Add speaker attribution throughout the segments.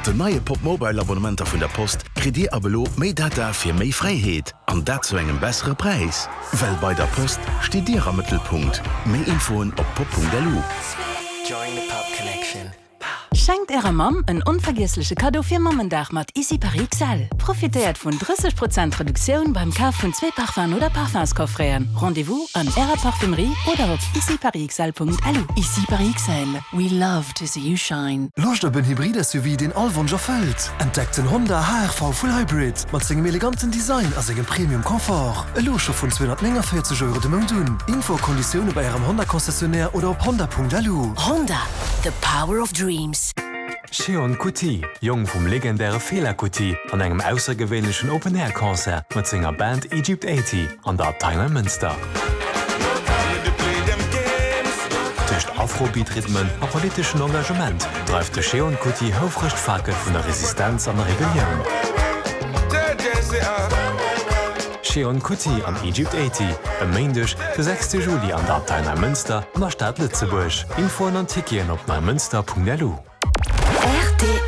Speaker 1: Mat den neie Popmobile Abonnementer vun der Post kritt Dir ab elo méi Data fir méi Fräiheet, an dat zu engem bessere Präis. Well bei der Post steet Dir am Mëttelpunkt. Méi Infoen op pop.lu.
Speaker 2: Schenkt ärer Mamm en onvergiessleche Kaddo fir Mammendag mat Ici Paris XL. Profitéiert vun 30 Prozent Reduktioun beim Kaf vun zwee Parfum'en oder Parfumscoffreten. Rendez-vous an ärer Parfumerie oder op iciparisxl.lu. Ici Paris XL, we love to see you shine.
Speaker 3: Loscht op en Hybrid-SUV, deen all Wonsch erfëllt? Entdeckt den Honda HR-V Full Hybrid mat sengem eleganten Design a sengem Premium Confort. Elo scho vun 249 Euro de Mount un. Info a Konditioune bei Ärem Honda-Concessionnaire oder op honda.lu.
Speaker 2: Honda, the power of dreams.
Speaker 4: Seun Kuti, Jong vum legendäre Fela Kuti, an engem aussergewéinlechen Open-Air-Concert mat senger Band Egypt 80 an der Abtei Neimënster. Tëscht Afrobeat-Rhythmen a politeschen Engagement dreift de Seun Kuti houfreg d'Fakel vun der Resistenz an der Rebellioun. Seun Kuti an Egypt 80, e Méindeg, de sechste Juli an der Abtei Neimënster an der Stad Lëtzebuerg. Infoen an Ticketen op neimënster.lu.
Speaker 2: Rtl.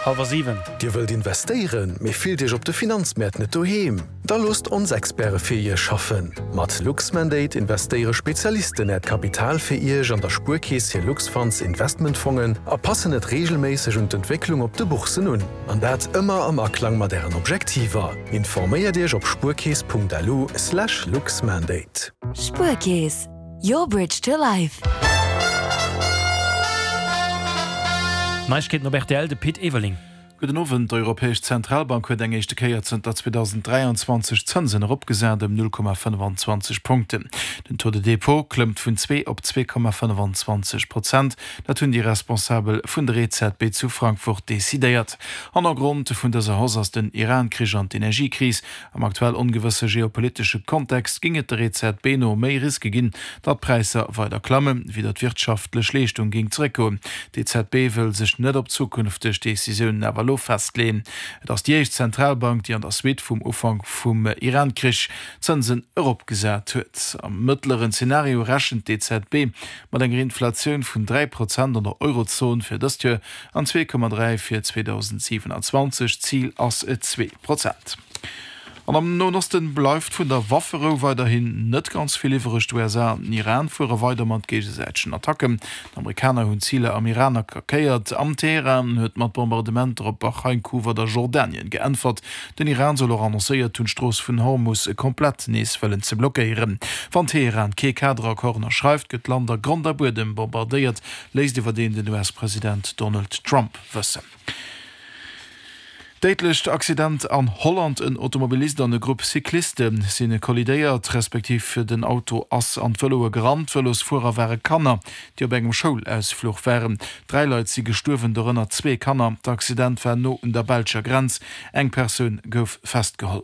Speaker 5: Halwer 7.
Speaker 3: Dir wëllt investéieren, mee fillt Iech op de Finanzmäert net doheem? Da loosst ons Experte fir Iech schaffen! Mat Luxmandate investéiere Spezialisten Äert Kapital fir Iech an der Spuerkeess hir Luxfunds Investmentfongen a passen et reegelméisseg un d'Entwécklung op de Boursen un. An dat ëmmer am Aklang mat Ären Objektiver. Informéiert Iech op spuerkeess.lu slash luxmandate.
Speaker 2: Spuerkeess, your bridge to life.
Speaker 5: Neiegkeeten op rtl, de Pit Everling.
Speaker 6: Gudden Owend. D'Europäesch Zentralbank huet eng éischte Kéier zënter 2023 d'Zënsen eropgesat ëm 0,25 Punkten. Den Taux de dépôt klëmmt vun 2 op 2,25 Prozent. Dat hunn déi Responsabel vun der EZB zu Frankfurt decidéiert. Hannergrond vun dëser Hausse ass den Iran-Krich an d'Energiekris. Am aktuell ongewësse geopolitesche Kontext géing et der EZB no méi Riske ginn, datt d'Präisser weider klammen, wéi datt d'wirtschaftlech Leeschtung géing zeréckgoen. D'EZB wëll sech net op zukünfteg Decisiounen awer elo festleeën. Et ass déi éischt Zentralbank, déi an der Suite vum Ufank vum Iran-Krich d'Zënsen eropgesat huet. Am mëttleren Zenario rechent d'EZB mat enger Inflatioun vun 3 Prozent an der Eurozon fir dëst Joer an 2,3 fir 2027. D'Zil ass 2 Prozent. An am Noen Osten bleift vun der Wafferou weiderhin net ganz vill iwwereg. D'USA an den Iran fuere weider mat géigesäitegen Attacken. D'Amerikaner hunn Ziler am Iran attackéiert an Teheran huet mat Bombardementer op Bahrain, Kuwait a Jordanien geäntwert. Den Iran soll och annoncéiert hunn, d'Strooss vun Hormus komplett nees wëllen ze blockéieren. Wann Teheran kee Kaderaccord ënnerschreift, gëtt d'Land a Grond a Buedem bombardéiert, léisst iwwerdeem den US-President Donald Trump wëssen. Déidlecht Accident an Holland, En Automobilist an e Grupp Cycliste si kollidéiert, respektiv den Auto ass an d'Vëloe gerannt. D'Vëlosfuerer ware Kanner, déi op engem Schoulausfluch waren. 3 Leit si gestuerwen, dorënner zwee Kanner. D'Accident war no un der belscher Grenz. Eng Persoun gouf festgeholl.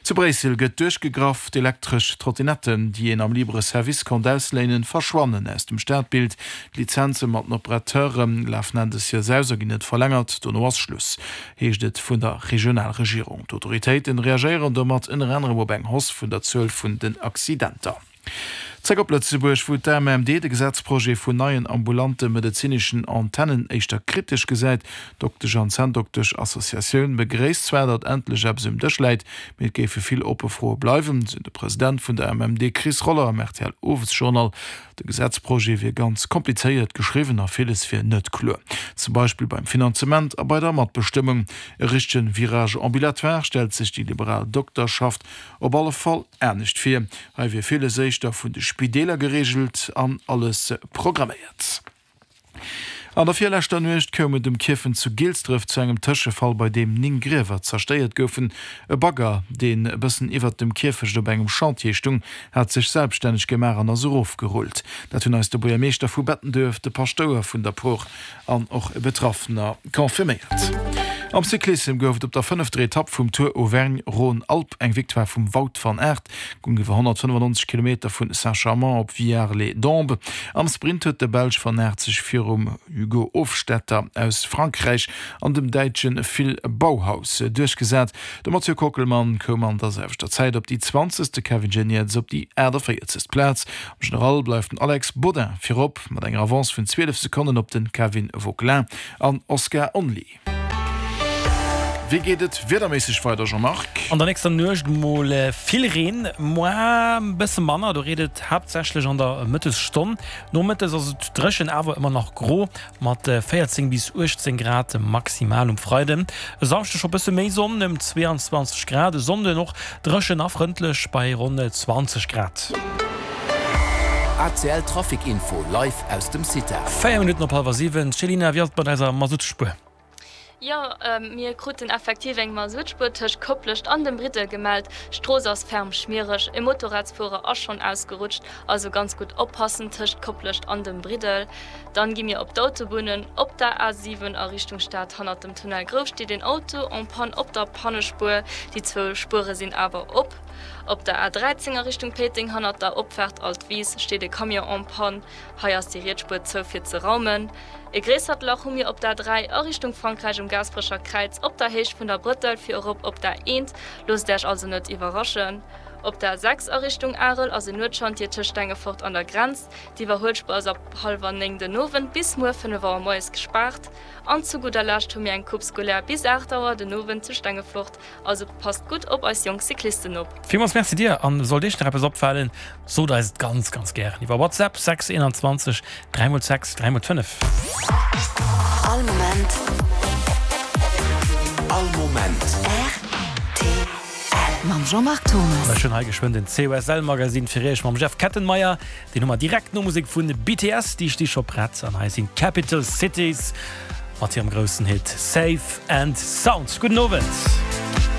Speaker 6: Zu Bréissel gëtt duerchgegraff, D'elektresch Trottinetten, déi een am Libre Service konnt ausléinen, verschwannen aus dem Stadbild. D'Lizenze mat den Operateure lafen Enn des Joers aus a ginn net verlängert. Dono ass Schluss, heescht et vun der Regionalregierung. D'Autoritéiten reagéieren domat ënner anerem op eng Hausse vun der Zuel vun den Accidenter. Zréck op Lëtzebuerg, wou d'AMMD de Gesetzprojet vun neien ambulante medezineschen Antennen éischter kritesch gesäit. D'Doktesch an Zänndoktesch-Associatioun begréisst zwar, datt endlech eppes um Dësch läit, mee et géife vill oppe Froe bleiwen, sou de President vun der AMMD Chris Roller am RTL-Owesjournal. De Gesetzprojet wier ganz komplizéiert geschriwwen a villes wier net kloer. Zum Beispill beim Finanzement a bei der Matbestëmmung. E richtege Virage ambulatoire stellt sech déi liberal Dokterschaft op alle Fall anescht vir. Hei wier villes éischter vun de Spideeler gereegelt an alles programméiert. An der virleschter Nuecht koum et um Kierfent zu Gilsdref zu engem Tëschefall, bei deem 9 Griewer zerstéiert goufen. E Bagger, deen e bëssen iwwert dem Kierfecht op engem Chantier stung, hat sech selbstänneg gemaach an ass erofgerullt. Dat hunn eis de Buergermeeschter vu Bettenduerf, de Paschtouer vun der Por an och e Betraffener confirméiert. Am Cyclissem gouf et op der fënnefter Etapp vum Tour Auvergne-Rhône-Alpes eng Victoire vum Wout van Aert. Goung iwwer 195 Kilometer vun Saint-Chamond op Villars-les-Dombes. Am Sprint huet de Belsch van Aert sech virum Hugo Hofstetter aus Frankräich an dem Däitsche Phil Bauhaus duerchgesat. De Mathieu Kockelmann koum an der selwechter Zäit op déi 20., de Kevin Geniets op déi 48. Plaz. Am General bleift den Alex Baudin virop mat enger Avance vun 12 Sekonnen op de Kevin Vauquelin an Oscar Onley. Wéi geet et wiederméisseg weider, Jean-Marc?
Speaker 5: An der nächster Nuecht mol vill Reen, moar e bësse manner, do reent et haaptsächlech an der Mëttesstonn. Nomëttes ass et dréchen, awer ëmmer nach gro mat 14 bis 18 Grad maximal um Freiden. E Samschde scho bësse méi Sonn, ëm 22 Grad, e Sonnden och dréchen a frëndlech bei ronn 20 Grad.
Speaker 1: ACL Trafic Info live aus dem CITA.
Speaker 5: 4 Minutten op hallwer 7, Céline, wéi ass et mat eiser Masuttspuer?
Speaker 7: Jo, mir kruten effektiv eng Masuttspuer tëscht Koplescht an dem Briddel gemellt. D'Strooss ass ferm schmiereg, e Motorradsfuerer ass schonn ausgerutscht, also ganz gutt oppassen tëscht Koplescht an dem Briddel. Dann gi mir op d'Autobunnen. Op der A7 a Richtung Stad hannert dem Tunnel Grouf steet een Auto en panne op der Pannespuer, déi zwou Spuere sinn awer op. Op der A13 a Richtung Péiteng hannert der Opfaart Altwis steet e Camion en panne, hei ass déi riets Spuer zou fir ze raumen. E gréissert Lach hu mir op der A3 a Richtung Frankräich um Gaasperecher Kräiz op der Héicht vun der Brëttel fir erop op der A1. Loosst Äech also net iwwerraschen. Op der A6 a Richtung Arel ass en Nuetschantier tëscht Stengefort an der Grenz. D'Iwwerhuelspuer ass ab hallwer 9 den Owend bis muer 5 Auer moies gespaart. An zu gudder Lescht hu mir eng Coupe scolaire bis 8 Auer den Owend zu Stengefort. Also passt gutt op eis jonk Cyclisten op.
Speaker 5: Villmools Merci dir an sollt iech nach eppes opfalen, sot eis et ganz ganz gären iwwer WhatsApp 6 21 3 x 6 3 x 5.
Speaker 2: All Moment.
Speaker 1: All Moment.
Speaker 2: Rtl. Mam Jean-Marc Thomas.
Speaker 5: Ech hunn hei geschwënn den COSL Magazine fir iech mam Jeff Kettenmeyer. Deen hu mer direkt no Musek vun BTS, déi sti scho prett. An hei sinn d'Capital Cities mat hirem groussen Hit Safe and Sound. Gudden Owend.